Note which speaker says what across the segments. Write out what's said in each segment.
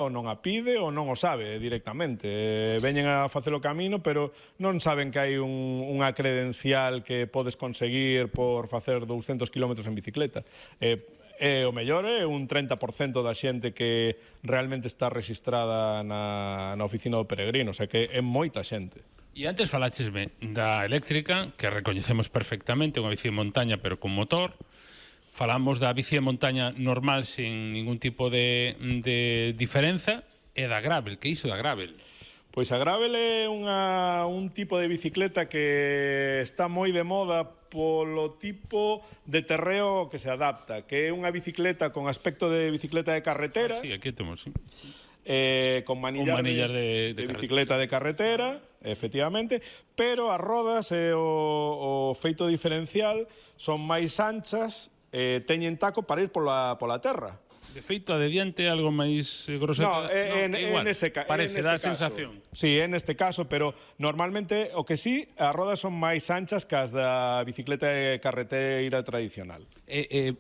Speaker 1: ou non a pide ou non o sabe directamente. Veñen a facer o camino, pero non saben que hai unha credencial que podes conseguir por facer 200 km en bicicleta. O mellor é un 30% da xente que realmente está registrada na oficina do peregrino, o sea que é moita xente.
Speaker 2: E antes faláchesme da eléctrica, que recoñecemos perfectamente, unha bici de montaña pero con motor. Falamos da bici de montaña normal sin ningún tipo de diferenza, e da gravel. Que iso da gravel?
Speaker 1: Pois a gravel é un tipo de bicicleta que está moi de moda polo tipo de terreo que se adapta, que é unha bicicleta con aspecto de bicicleta de carretera.
Speaker 2: Sí, aquí temos, sí.
Speaker 1: Con manillar de bicicleta de carretera, efectivamente, pero as rodas e o feito diferencial son máis anchas, teñen taco para ir pola terra.
Speaker 2: De feito, a de diante é algo máis grosso.
Speaker 1: No,
Speaker 2: parece, dá a sensación.
Speaker 1: Sí, en este caso, pero normalmente o que sí, as rodas son máis anchas que as da bicicleta de carreteira tradicional.
Speaker 2: É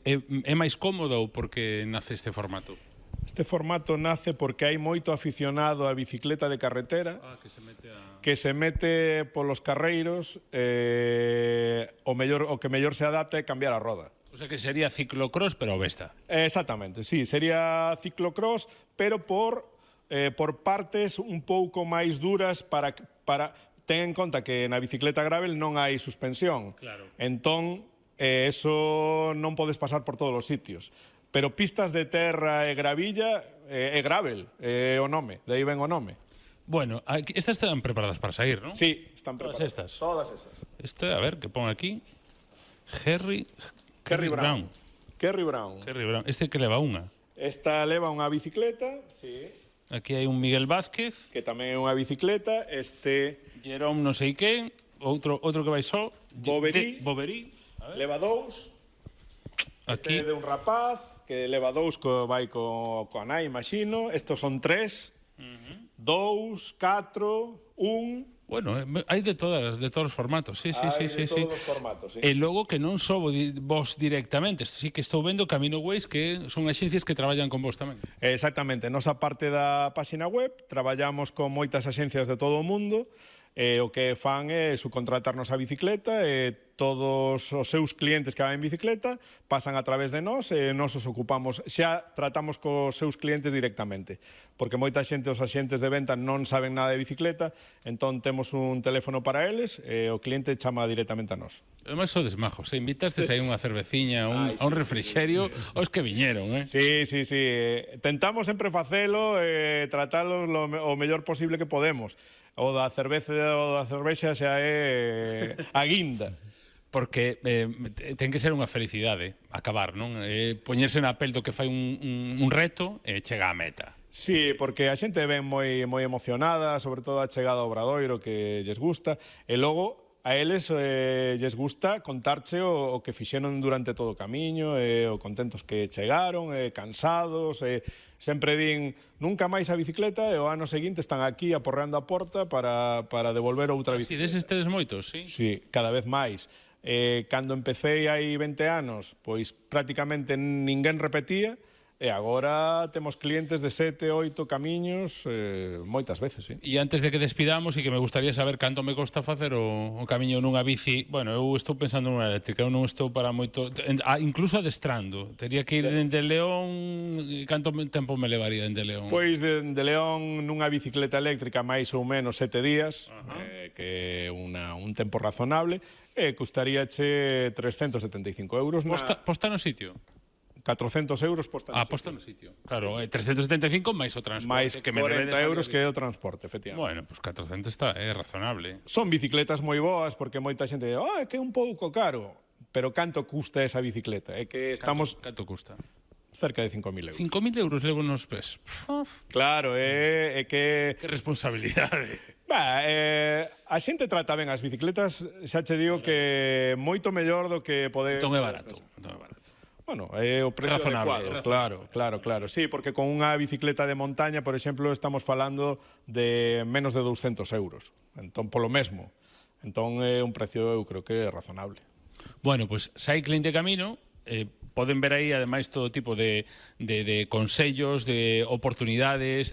Speaker 2: máis cómodo ou porque nace este formato?
Speaker 1: Este formato nace porque hai moito aficionado á bicicleta de carretera que se mete polos carreiros, o que mellor se adapta é cambiar a roda.
Speaker 2: O sea que sería ciclocross, pero besta.
Speaker 1: Exactamente, sí, sería ciclocross, pero por partes un pouco máis duras para ten en conta que na bicicleta gravel non hai suspensión.
Speaker 2: Claro.
Speaker 1: Entón, eso non podes pasar por todos os sitios. Pero pistas de terra e gravilla é gravel, é o nome, de aí ven o nome.
Speaker 2: Bueno, estas están preparadas para sair, non?
Speaker 1: Sí, están preparadas.
Speaker 2: Todas estas. Esta, a ver, que pon aquí. Kerry Brown.
Speaker 1: Kerry Brown.
Speaker 2: Este que leva unha?
Speaker 1: Esta leva unha bicicleta, sí.
Speaker 2: Aquí hai un Miguel Vázquez.
Speaker 1: Que tamén é unha bicicleta.
Speaker 2: Jerome non sei que. Outro que vai só.
Speaker 1: Boverí. Leva dous.
Speaker 2: Aquí.
Speaker 1: Este é de un rapaz que leva dous que vai coa nai, imagino. Estos son 3. 2, 4, 1...
Speaker 2: Bueno, hai de todos os formatos, sí.
Speaker 1: Todos os formatos, sí.
Speaker 2: E logo que non só vos directamente, sí que estou vendo Camino Ways, que son axencias que traballan con vos tamén.
Speaker 1: Exactamente, nosa parte da páxina web traballamos con moitas axencias de todo o mundo, o que fan é subcontratarnos a bicicleta e todos os seus clientes que van en bicicleta pasan a través de nós e nós os ocupamos, xa tratamos cos seus clientes directamente, porque moita xente, os axentes de venta non saben nada de bicicleta, entón temos un teléfono para eles e o cliente chama directamente a nós.
Speaker 2: Ademais sodes majos, invitastes aí unha cerveciña, a un refrixerio, os que viñeron,
Speaker 1: Sí. Tentamos sempre facelo e tratalo o mellor posible que podemos. O da cervexa xa é a guinda.
Speaker 2: Porque ten que ser unha felicidade acabar, non? Poñerse na pel do que fai un reto e chega á meta.
Speaker 1: Sí, porque a xente ven moi emocionada, sobre todo a chegada ao Obradoiro, que lles gusta, e logo a eles lles gusta contarche o que fixeron durante todo o camiño, o contentos que chegaron, cansados, sempre din nunca máis a bicicleta e o ano seguinte están aquí aporreando a porta para devolver outra bicicleta.
Speaker 2: Si, deses tedes moitos, sí?
Speaker 1: Sí, cada vez máis. Cando empecé hai 20 anos, pois prácticamente ninguén repetía, e agora temos clientes de 7, 8 camiños moitas veces, sí.
Speaker 2: E antes de que despidamos, e que me gustaría saber canto me costa facer o camiño nunha bici. Bueno, eu estou pensando nunha eléctrica, eu non estou para moito, incluso adestrando. Tería que ir dende León, canto tempo me levaría dende León?
Speaker 1: Pois dende León nunha bicicleta eléctrica máis ou menos 7 días, que é un tempo razonable, e custaríache 375 euros.
Speaker 2: Posta no sitio?
Speaker 1: 400 euros posta no sitio.
Speaker 2: Posta no sitio. Claro, 375 máis o transporte.
Speaker 1: Mais 40 euros que é o transporte, efectivamente.
Speaker 2: Bueno, pues 400 é razonable.
Speaker 1: Son bicicletas moi boas, porque moita xente di, que é un pouco caro. Pero canto custa esa bicicleta? É que estamos...
Speaker 2: Canto custa?
Speaker 1: Cerca de 5.000 euros.
Speaker 2: 5.000 euros levo nos pés.
Speaker 1: Claro, é que...
Speaker 2: Que responsabilidade.
Speaker 1: A xente trata ben as bicicletas, xa che digo que moito mellor do que poder...
Speaker 2: Entón é barato.
Speaker 1: Bueno, é o precio adecuado, claro. Sí, porque con unha bicicleta de montaña, por exemplo, estamos falando de menos de 200 euros. Entón, polo mesmo. Entón, é un precio, eu creo que é razonable.
Speaker 2: Bueno, pois, Cycling de Camino, poden ver aí, ademais, todo tipo de consellos, de oportunidades,